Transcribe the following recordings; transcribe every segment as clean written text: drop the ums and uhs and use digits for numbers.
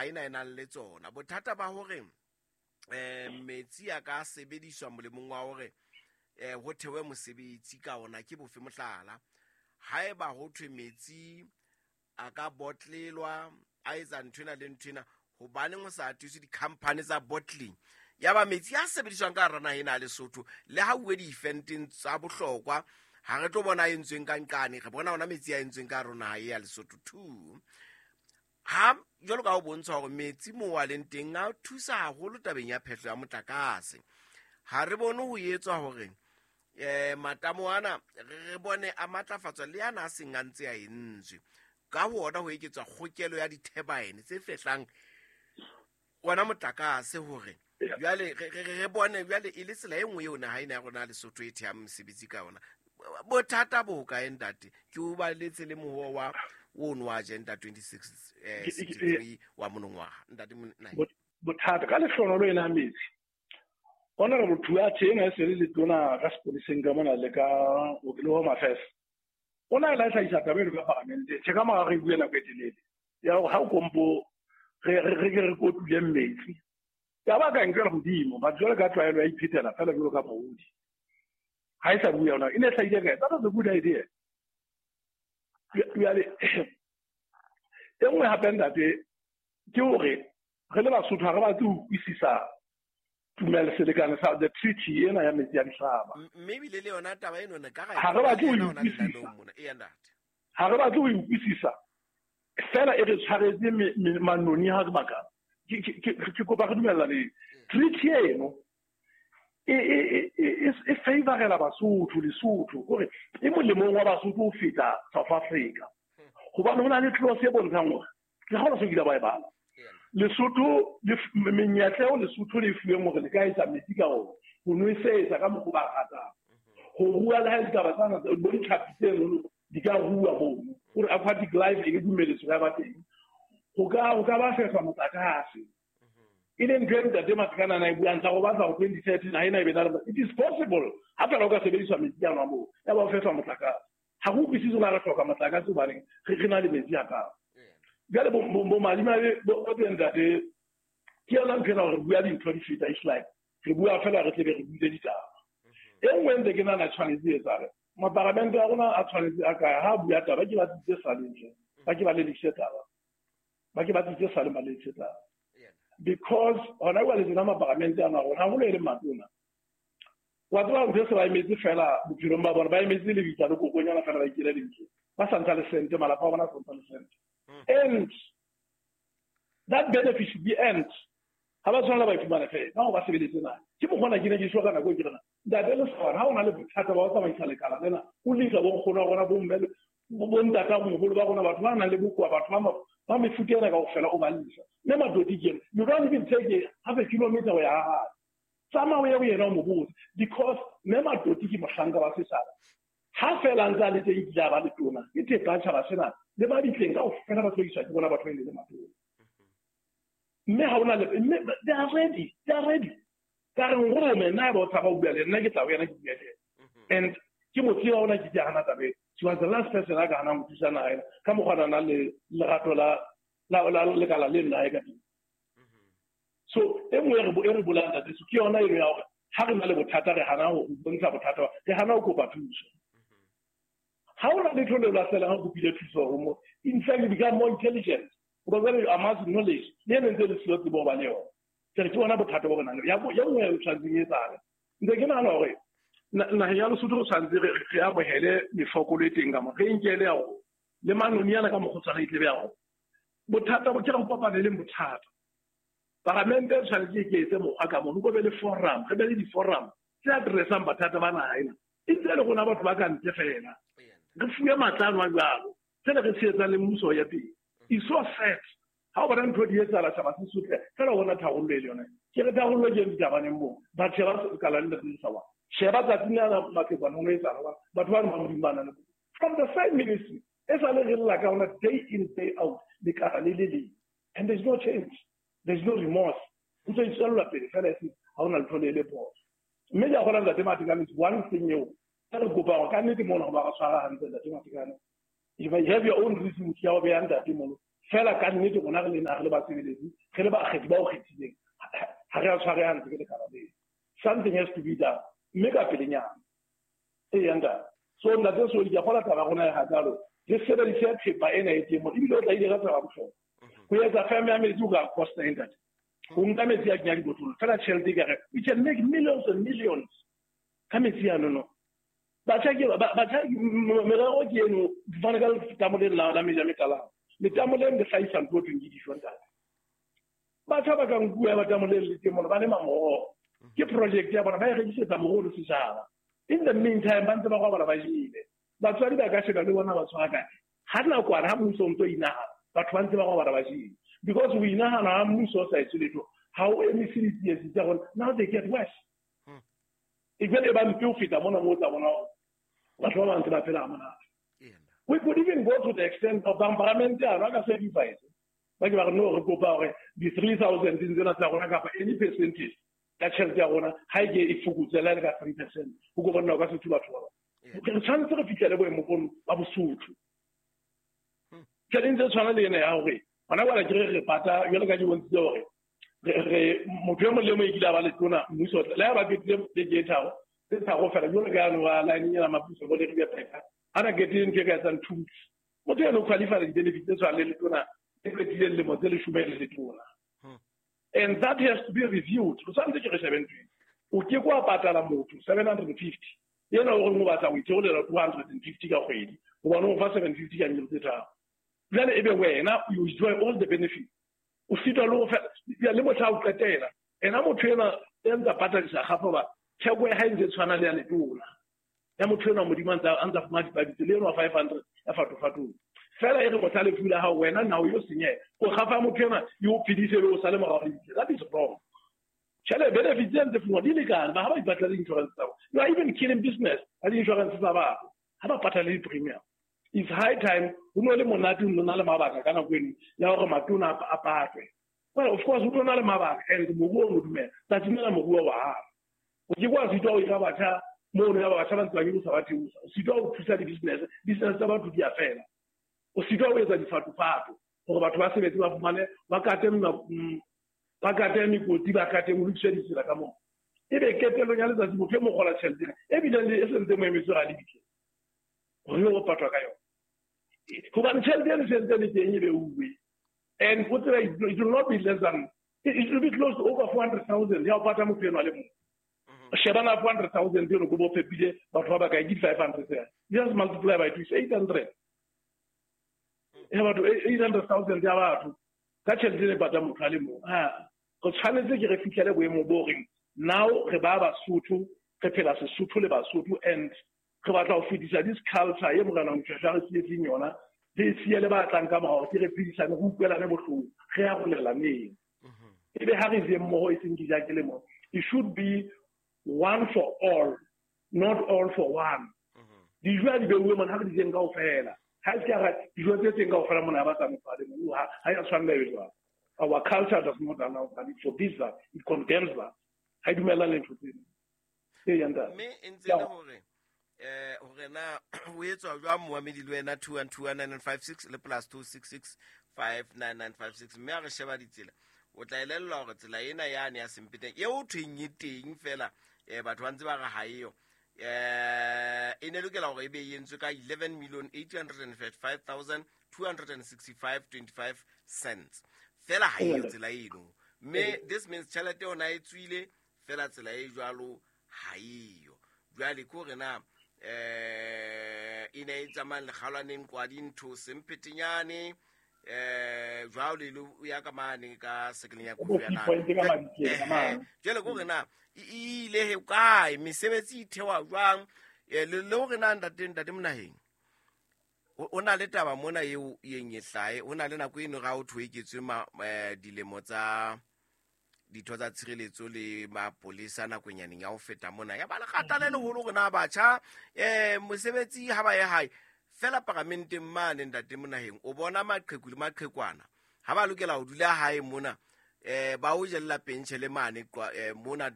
Naha ena e nang le tsona. Bothata ba hore metsi a ka sebediswa molemong wa hore ho thewe mosebetsi ka ona ke bofe? Mohlala, haeba ho thwe metsi a ka botlelwa, a etsa nthwena le nthwena, hobaneng ho sa atiswe di-company tsa bottling ya ba metsi a sebediswang ka hara naha ena ya Lesotho? Le ha uwe di-eventeng tsa bohlokwa, ha re tlo bona a entsweng ka nqane, re bona ona metsi a entsweng ka hare ho naha e ya Lesotho. Two, ha jwalo ka ho bontsha hore metsi moo a leng teng a thusa haholo tabeng ya phehlo ya motlakase, ha re bone ho etswa hore matamo ana re bone a matlafatswa le ana a seng a ntse a entswe ka ho ona, ho eketswa kgokelo ya di-turbine tse fehlang ona motlakase, hore jwale re bone jwale e le tsela e nngwe eo naha ena ya rona ya Lesotho e thehang mesebetsi ka yona. Bothata bo hokae, ntate? Ke o baletse le moho wa ono wa Agenda 26 63 wa monongwaha, ntate Nai. Bothata ka lehlonolo ena metsi, Honorable Thuathe ena e se le letona ka sepoleseng ka mona le ka le Home Affairs, o na la hlahisa taba eno ka parlamente tjhe ka mora re bue nako e telele ya hore ha o kompo re ke re kotule metsi ya ba ka nkela hodimo. Batho jwale ka tlwaelo ya iphetela fela jwalo ka maodi ha e sa bua yona e ne e hlahile kae. That was a good idea. Jwale e nngwe hape, ntate, ke hore re le Basotho ha re batle ho utlwisisa tumelo selekane sa the treaty ena ya metsi a dihlaba. Mme ebile le yona taba eno ne ka Ha re batle ho e utlwisisa. Mona eya, ntate. Ha re batle ho e utlwisisa fela, e re tshwaretse manoni ha re baka. Ke kopa re dumellaneng, treaty eno e favorela Basotho, Lesotho, hore e molemong wa Basotho ho feta South Africa, hobane ho na le clause e bontshang hore ke ga se kile ba e bala Lesotho menyetla eo Lesotho le fuweng hore le ka etsa metsi ka ona, ho nwesetsa ka mokgwa ba ratang, ho rua le ha e ditaba tsana bo ditlhapi tseno di ka rua mono, hore aquatic life e dumeletswe ya ba teng, ho ka ba fehlwa motlakase, e leng ntho e ntate Matekane a e buang tsa go batla go 2030 naha ena e be na le. It is possible ha fela o ka sebediswa metsi ano a moo ya ba o fehlwa motlakase. Ha go utlwisise na re hloka motlakase hobaneng re na le metsi a kang jale. Bomadimabe bo teng, ntate, ke yona ntho ena gore re bua dintho di feta. It's like re bua fela re tlebe re buile ditaba. E nngwe ntse ke nana tshwanetse e etsale, maparamente a rona a tshwanetse a kaya ha a bua taba ke ba tsitse saleng tle ba ke ba lelekise taba, ba ke ba tsitse saleng ba lelekise taba, because hona jwale tsena maparamente ana rona haholo e leng matona, wa tseba ntho e se ba emetse fela bophelong ba bona, ba emetse lebitla le kokonyana fela ba ikele lebitla ba sa ntsha le sente, malapa a bona a sa ntsha le sente, and that benefit should be earned. Ha ba tshwanela ba e fumane fela ka go ba sebeletse na ke mokgona. Ke ne ke shwa ka nako e ke rena, ntate Lesawana, ha o na le bothata ba ho tsamaisa lekala lena, o lisa bonkgono wa rona, bomme, bontata moholo ba rona, batho ba nang le bokoa, batho ba mefuta ena kaofela, o ba lisa mme Matoti ke you don't even take half a kilometer ho ya ha hae. Tsamaya o ye ho yena o mo botse, because mme Matoti ke mohlanka wa setjhaba. Ha fela a ntse a le teng, kile a ba letona, ke thepa ya tjhaba sena le ba ditleng kaofela ba tlodiswa ke bona batho ba e le matona, mme ha ona le mme they are ready, they are ready. Ka re nrome nna, ba o tshaba ho bua le nna, ke tla ho yena ke bua le yena, and ke mo tseba ona ke ke hana tabe. She was the last person a ka hanang ho thusa naha ena ka mokgwa na le lerato la lekala le nna e ka teng. So e nngwe e re bolang, ntate, so ke yona eno ya hore ha re na le bothata re hana ho bontsha bothata, re hana ho kopa thuso. Ha o na letho le lahlelang ha o kopile thuso ho mo, in fact you become more intelligent, because when you amass knowledge le ene ntse le siyo tsebo ho ba le yona. Ke re ke bona bothata bo re nang le ya ya nngwe e tshwanetseng e etsahale. Ntse ke nahana hore naheng ya Lesotho re tshwanetse re amohele mefokolo e teng ka mo re nkele ya hore le manoni ana ka mokgotshwana e tlebe ya hore bothata bo ke re kopane leng bothata. Paramente e tshwanetse e ke etse mokgwa ka mono, ko be le forum, re be le di-forum tse addressang bothata ba naha ena, e ntse e le rona batho ba ka ntle fela re fuwe matla ano a jwalo sele re tshehetsang le mmuso ya teng. It's so sad ha o bona ntho di etsahala, tjhaba se sotle fela o bona tharollo e le yona. Ke re tharollo ke ditabaneng moo but sheba kala le le sa wa sheba tsatsing lena matekwane ho etsahala, batho ba re ba Modimo ba na le from the same ministry e sa le re lla ka ona day in, day out, lekala le le leng, and there's no change, there's no remorse, ntse e tswella pele fela e se ha hona letho le le phoso. Mme ke a kgona, ntate Matekane, is one thing eo e re kopa hore ka nnete mona ho ba re tshwara hantle. Ntate Matekane, if you have your own reasons ya ho beha ntate mono, Fela ka nnete rona re le naha, re le basebeletsi, re le bakgethi ba o kgethileng, ha re a tshware hantle ke lekala leo. Something has to be done. Mme ka pelenyana. Ee, ntate. So ntate Soli, ke a kgolwa taba ya rona e hakalo. Re sebedise thepa ena e teng mona. Ebile o tla ile ka taba bohlokwa. Ho etsa firm ya metsi o ka costa e ntate. Ho nka metsi a kenya dibotlolo. Fela tjhelete e ka re, we can make millions and millions ka metsi ano no. Batjha ke batjha merero ke eno fane ka letamo le la meja mekalana. Letamo le le hlahisa ntho e thweng ke dijo ntate. Batjha ba ka nkuwa ba tamo le le teng mona ba lema moroho. Ke project ya bona ba e rekisetsa moroho le setjhaba. In the meantime ba ntse ba robala ba jele. Batswadi ba ka sheba le bona ba tshwara kae. Ha nakwana ha mmuso o ntso inahana, batho ba ntse ba robala ba jele. Because o inahana ha mmuso o sa etse letho, ha o emise ditsietsi tsa rona, now they get worse. E jwale e ba mpe ho feta mona moo o tla bona hore batho ba bang ntse ba phela ha monate. We could even go to the extent of bamparamente ano a ka sacrifice. Ba ke ba re no re kopa hore di 3000 tsena tsa rona kapa any percentage ya tjhelete ya rona ha e ke e fokotse le ka 3%. Ho ko bona o ka se thu batho ba bang. Re tshwanetse re fihlele boemo bono ba Bosotho. Tjhelete tse tshwana le ena ya hore hona jwale ke re pata jwale ka ke bontshitse hore re motho e mong le mong e kile a ba letona mmuso le ha ba qetile beke e tharo tse tharo fela jwale ka yano wa line ena mapuso bo le re pheka ha na qetile ntho e ka etsang 2 weeks motho eno o qualify di-benefits tse tshwanang le letona e qetileng lemo tse leshome le letona. And that has to be reviewed. Re tshwanetse ke re shebe ntho o ke kwa patala motho 750 yena o reng o batla ho itheolela 250 ka kgwedi hobane o fa 750 ka nyelo tse tharo. Jwale ebe wena you enjoy all the benefits. O sitwa le ho le mohla o qetela. Ena motho ena e ntsa patadisa gafa ba theko ya hae ntse tshwana le ya letona. Ya motho ena Modimo a ntsa fumana dipabitso le eno 500 ya fatofatong. Fela e re mohla lefu la hao wena nao yo senyeha. O gafa motho ena yo phedise le o sale morao le bitse. That is wrong. Tjhele benefits tse ntse fumanwa di lekane ba ha ba ipatlela insurance tsa bona. You are even killing business ka di-insurance tsa batho. Ha ba patale di-premium. It's high time ho no le monate ho na le mabaka ka nako eno ya hore matona a patwe. Well, of course ho na le mabaka and moruo o no dumela. Tsatsing lena moruo wa hana. O ke kwa sitwa ho ira batjha mono ya batjha ba ntse ba nyolosa ba theosa. O sitwa ho thusa di-business, business tsa batho di a fela. O sitwa ho etsa difatofato hore batho ba sebetse ba fumane ba kate ba kate mekoti ba kate ho lokiswe ditsela ka moo. Ebe qetellong ya letsatsi motho e mo kgola tjhelete ena e bileng le e sentse mo emetse hore a lebitse. Hore yo patwa ka yona. Hobane tjhelete eno sentse le teng e beuwe. And o tseba it will not be less than it will be close to over 400,000 ya ho pata motho eno a le mong. Sheba na 400,000 eno ko bo fepile batho ba bakae ke 500. Just multiply by 2 is 800. Ya batho 800,000 ya batho ka tjhelete e pata motho a le mong. Ha re tshwanetse ke re fihlele boemo bo reng now re ba Basotho re phela Sesotho le Basotho and re batla ho fetisa this culture e morena Moshoeshoe re sietseng yona re siye le ba tlang ka morao ke re phedisane re utlwelane bohloko re arolelaneng. Ebe ha re je mmoho e seng ke ja ke le mong. It should be one for all, not all for one. Dijo ha di beuwe mona ha re di jeng kaofela. Ha se ka dijo tse teng kaofela mona ha ba tsa motho a le mong ha ya tshwanela e jwalo. Our culture does not allow that. It forbids that. It condemns that. Ha e dumellane le ntho tseno. Ee, ya ntate. Mme e ntse le hore hore na ho etswa jwang moamedi le wena 2121956 le plus 26659956 mme ha re sheba ditsela o tla elellwa hore tsela ena yane ya Sempeteng e o thweng e teng fela batho ba ntse ba re ha eyo e ne lokela hore e be e entswe ka 11,835,265.25 cents fela ha eyo tsela eno mme this means tjhelete yona e tswile fela tsela e jwalo ha eyo. Jwale ke hore na e ne e tsamayang lekgalwaneng kwa dintho Semphetenyane jwalo le ya ka mane ka sekeleng ya Kofi Annan. Jwale ke hore na e ile he kae mesebetsi e thewa jwang le hore na ntate Monaheng o na le taba mona eo yeng e hlae o na le nako eno ga o thwe eketswe dilemo tsa ditho tsa tshireletso le mapolesa nakwenyaneng ya ho feta mona ya ba lekgata le leholo hore na batjha mosebetsi ha ba ye hae fela paramenteng mane ntate Monaheng o bona maqheku le maqhekwana ha ba lokela ho dula hae mona ba o jella pentjhe le mane mona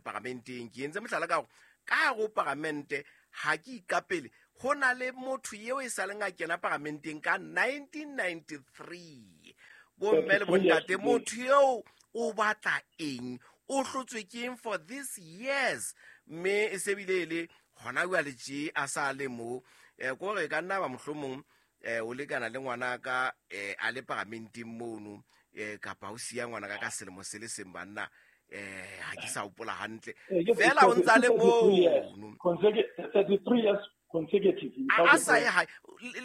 paramenteng. Ke entse mohlala ka hore ka hare ho paramente ha ke ikapele Ho na le motho eo e sa leng a kena paramenteng ka 1993. Bomme le bontate, motho eo o batla eng? O hlotswe ke eng for this years? Mme e se bile e le hona jwale tje a sa le mo. Kore ka nna ba mohlomong o lekana le ngwana ka a le paramenteng mono, kapa o siya ngwana ka selemo se le seng banna, ha ke sa hopola hantle. Fela o ntsa le mono. 33 years consecutive. A sa ye hae.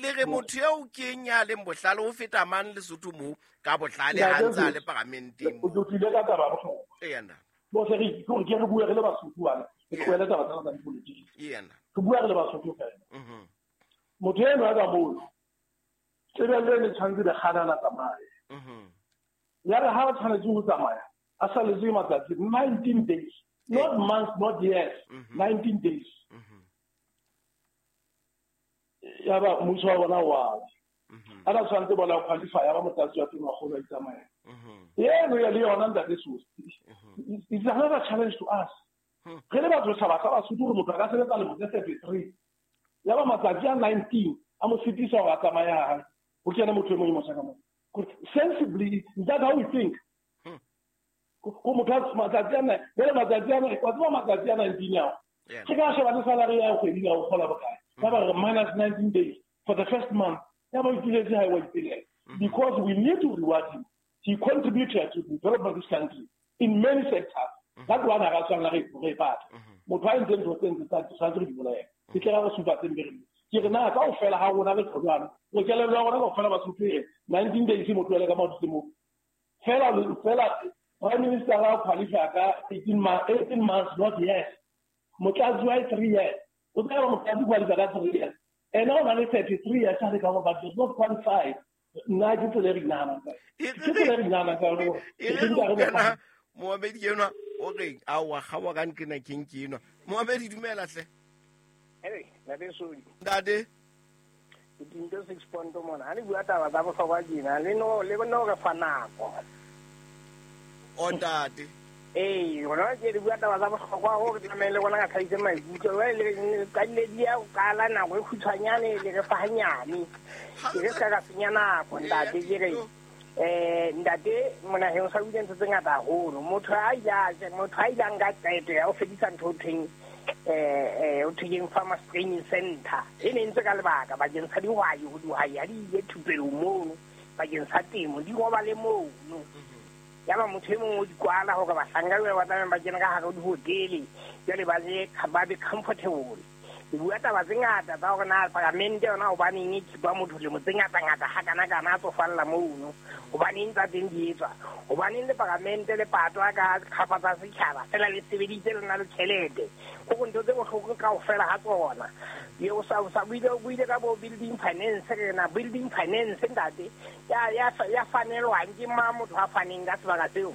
Le re motho eo ke eng ya leng bohlale ho feta mang Lesotho moo ka bohlale ha ntsa le paramenteng moo. O tlile ka taba ya bohlokwa. Eya nna. Bo se re ke re bua re le Basotho bana. Re tlohele taba tsena tsa dipolotiki. Eya nna. Re bua re le Basotho fela. Motho enwa ka mono tebello e ne tshwanetse be kganana tsamaye. Ya re ha ba tshwanetse ho tsamaya a saletswe matsatsi 19 days, not months, not years, 19 days. Ya ba mmuso wa bona wa a ba tshwanetse bona qualify ya ba motlatsi wa teng wa kgolo a itsamaya. Eno ya le yona ntate Sosi. It's another challenge to us. Re le batho setjhaba sa Basotho hore motho a ka sebetsa lemo tse 33. Ya ba matsatsi a 19 a mo sitisa hore a tsamaye ha hae. Ho kene motho e mong e motjha ka moo. Sensibly, is that how we think? Ko motho a matsatsi a nine, jwale matsatsi a nine, wa tseba matsatsi a 19 ao. Ke ka sheba le salary ya kgwedi ya o kgola bokae. Ba ba re minus 19 days for the first month. Ya ba ituletse ha e wa ipelela. Because we need to reward him. He contributed to the development of this country in many sectors. That one ha ra tshwanela re e batla. Motho a entseng ntho tse ntse tsa tshwanetse re di bolaye. Ke tla re supa tse mpe re. Ke re na kaofela ha rona re tjho jwalo. Re kelello ya rona kaofela ba Basotho 19 days motho ele ka maoto mo. Fela Prime Minister ra qualify ka 18 months, not years. Motlatsi wa 3 years. O tseba motlatsi qualify ka 3 years. Ena o na le 33 years a le ka but does not qualify. Nna ke tsela e re inahanang ka. Ke tsela e re inahanang ka yona. E re Mohamedi enwa o reng a wa kgawa ka nqena keng ke enwa. Mohamedi dumela hle. Hey, ntate Sodi. Ntate. Ke Tinto 6 point mona. Ha le bua taba tsa bohlokwa tjena, le no re fa nako. O ntate. Ee, rona ke le bua taba tsa bohlokwa hore ke tlamehile le rona ka tlhahise maikutlo. Jwale le qadile di ya ho qala nako e kgutshwanyane le re fa hanyane. Ke re ska ka senya nako ntate ke re ntate monaheng o sa buile ntho tse ngata haholo. Motho a ile a nka qeto ya ho fedisa ntho ho thweng o thweng Farmers Training Center. E ne ntse ka lebaka bakeng sa dihwai, ho dihwai ha di ile thupelong mono bakeng sa temo di robale mono. Ya ba motho e mong o di kwala hore bahlanka ba tlamehang ba kene ka hare ho dihotele jwale ba je ba be comfortable. Le bua taba tse ngata tsa hore na paramente yona hobaneng e khipa motho lemo tse ngata-ngata hakana-kana a tsofalla mono, hobaneng tsa teng di etswa, hobaneng le paramente le patwa ka kgapa tsa setjhaba fela le sebeditse le na le tjhelete. Ho ntho tse bohloko kaofela ha tsona. Ye o sa buile ka bo building finance, re na building finance ntate ya fanelwang ke mang motho a faneng ka sebaka seo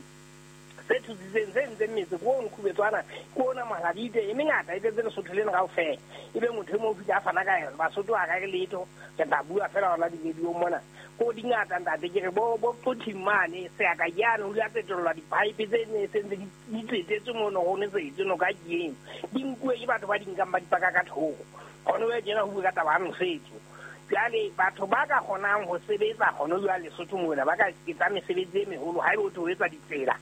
se thusitseng se ntseng metse ko ono Khubetswana ko ona Mahladitwe e mengata e tletse Lesotho lena kaofela. Ebe motho e mong o fihla a fana ka yona Basotho a ka re letho re tla bua fela hona di-radio mona ko dingata ntate ke re bo Qothing mane seaka jane o ile a fetollwa di-pipe tse ne se ntse di tsetetswe mono ho nesetse noka ke eno di nkuwe ke batho ba di nkang ba di paka ka thoko. Gone jwale tjena ho bua ka taba ya nosetso. Jwale batho ba ka kgonang ho sebetsa gone jwale Lesotho mona ba ka etsa mesebetsi e meholo haebe o tlo etsa ditsela.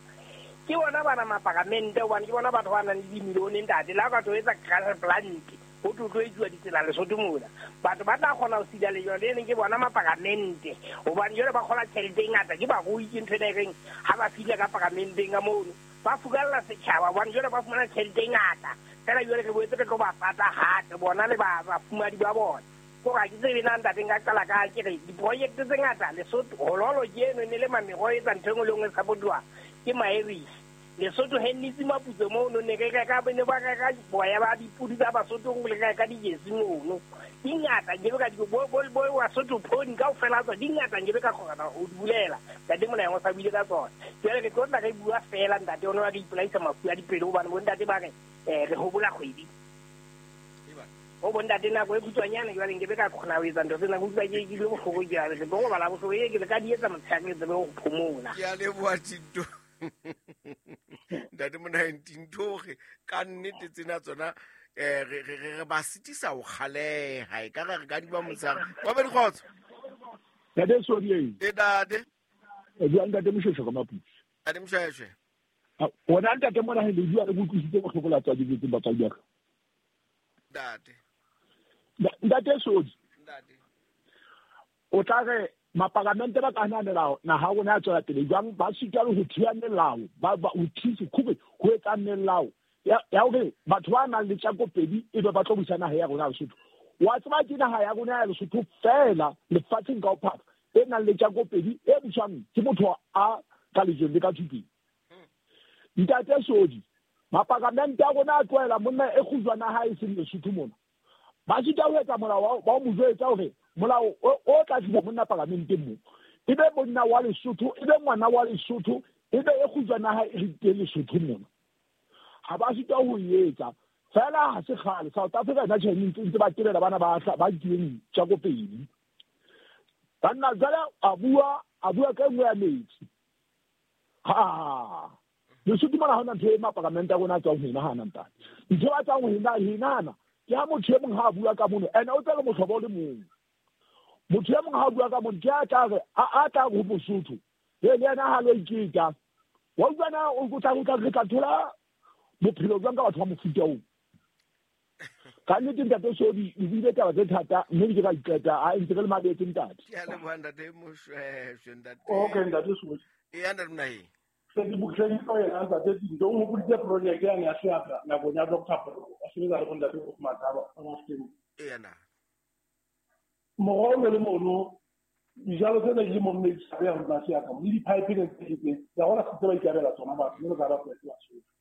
Ke bona bana maparamente hobane ke bona batho ba nang le dimilione ntate. Le ha ka tlo etsa gravel plant ho tlo etsuwa ditsela Lesotho mona. Batho ba tla kgona ho sila lejwe le leng ke bona maparamente hobane jwale ba kgola tjhelete e ngata ke barui ke ntho ena e reng ha ba fihla ka paramenteng ka mono ba furalla setjhaba hobane jwale ba fumana tjhelete e ngata. Fela jwale re boetse re tlo ba pata hape bona le bafumadi ba bona. Kore ha ke tsebe na ntate nka qala ka ke re diprojekte tse ngata Lesotho hololo ke eno e ne le mameroho e etsa ntho e nngwe le nngwe e support-wa ke Maerisi. Lesotho hennitse maputso mono ne re reka ne ba reka boya ba dipudi tsa Basotho re reka dijesi mono. Di ngata nke ka di bo Basotho pony kaofela tsona di ngata nke ka kgona ho di bulela. Ntate mona o sa buile ka tsona. Jwale re tlo tla re bua fela ntate ona wa re ipolaisa mafu a dipelo hobane bo ntate ba re re hobola kgwedi. O bo ntate nako e kgutshwanyane jwale nke be ka kgona ho etsa ntho tsena, ke utlwa ke le bohloko jwale. Ke tlo robala bohloko e ke le ka di etsa motshehare ke tsebe ho phomola. Ke a leboha Tinto. Ntate mona Tinto hore ka nnete tsena tsona Re ba sitisa ho kgaleha e ka re re ka diba motshehare wa be dikgotso. Ntate Sodi. E ntate. E bua ntate Moshweshwe ka Maputsi. Ntate Moshweshwe. Wona ntate mona he le bua le utlwisitse bohloko la tswadi le batswadi ba ka. Ntate. Ntate Sodi. Ntate. O tla re mapalamente ba ka hananela naha rona ya tswela pele jwang ba sitwa le ho thiya melao ba ho thise khube ho etsa melao ya hore batho ba nang le tjakopedi e be ba tlo busa naha ya rona ya Lesotho. Wa tseba ke naha ya rona ya Lesotho fela lefatsheng ka bophara e nang le tjakopedi e buswang ke motho a ka lejweng le ka thupeng. Ntate Sodi, mapalamente a rona a tlohela monna e kgujwana ha e seng Lesotho mona. Ba sitwa ho etsa molao ba mo jwetsa hore molao o tla tlisa monna palamenteng mo e be monna wa Lesotho, e be ngwana wa Lesotho, e be e kgujwana ha e re Lesotho mona. Ha ba sitwa ho etsa fela ha se kgale South Africa na tjhe ntse ba tebela bana ba ba kileng tjakopedi. Banna jwale a bua ka nngwe ya metsi. Ha Lesotho mona ha hona ntho e mapalamente a rona a tswang ho e nahana ntate. Ntho ba tswang ho e nahana ke ha motho e mong ha a bua ka mono ene o tsela mohlobo o le mong. Motho e mong ha a bua ka mono ke a tla re a tla ho Mosotho. Le yena ha lo iketa. Wa utlwa na o tla re tla thola bophelo jwang ka batho ba mofuta oo. Ka nnete ntate Sodi le buile taba tse thata mme ke ka iqeta a ntse re le mabetse ntate. Ke a leboha ntate Moshweshwe ntate. Okay ntate Sodi. E ya ntate Monaheng. Se di butleng ka yena ntate Dinto o hopoditse project ya ya seatla nakong ya Dr. Poro a sebetsa le bontate go Mathaba a Mafeng. E yana. Morolo le mono dijalo tsena di le mo mme di ya rona seatla le di-pipe ne tse tse ya gona se ba ikabela tsona batho mme re ka ba kwetse Basotho.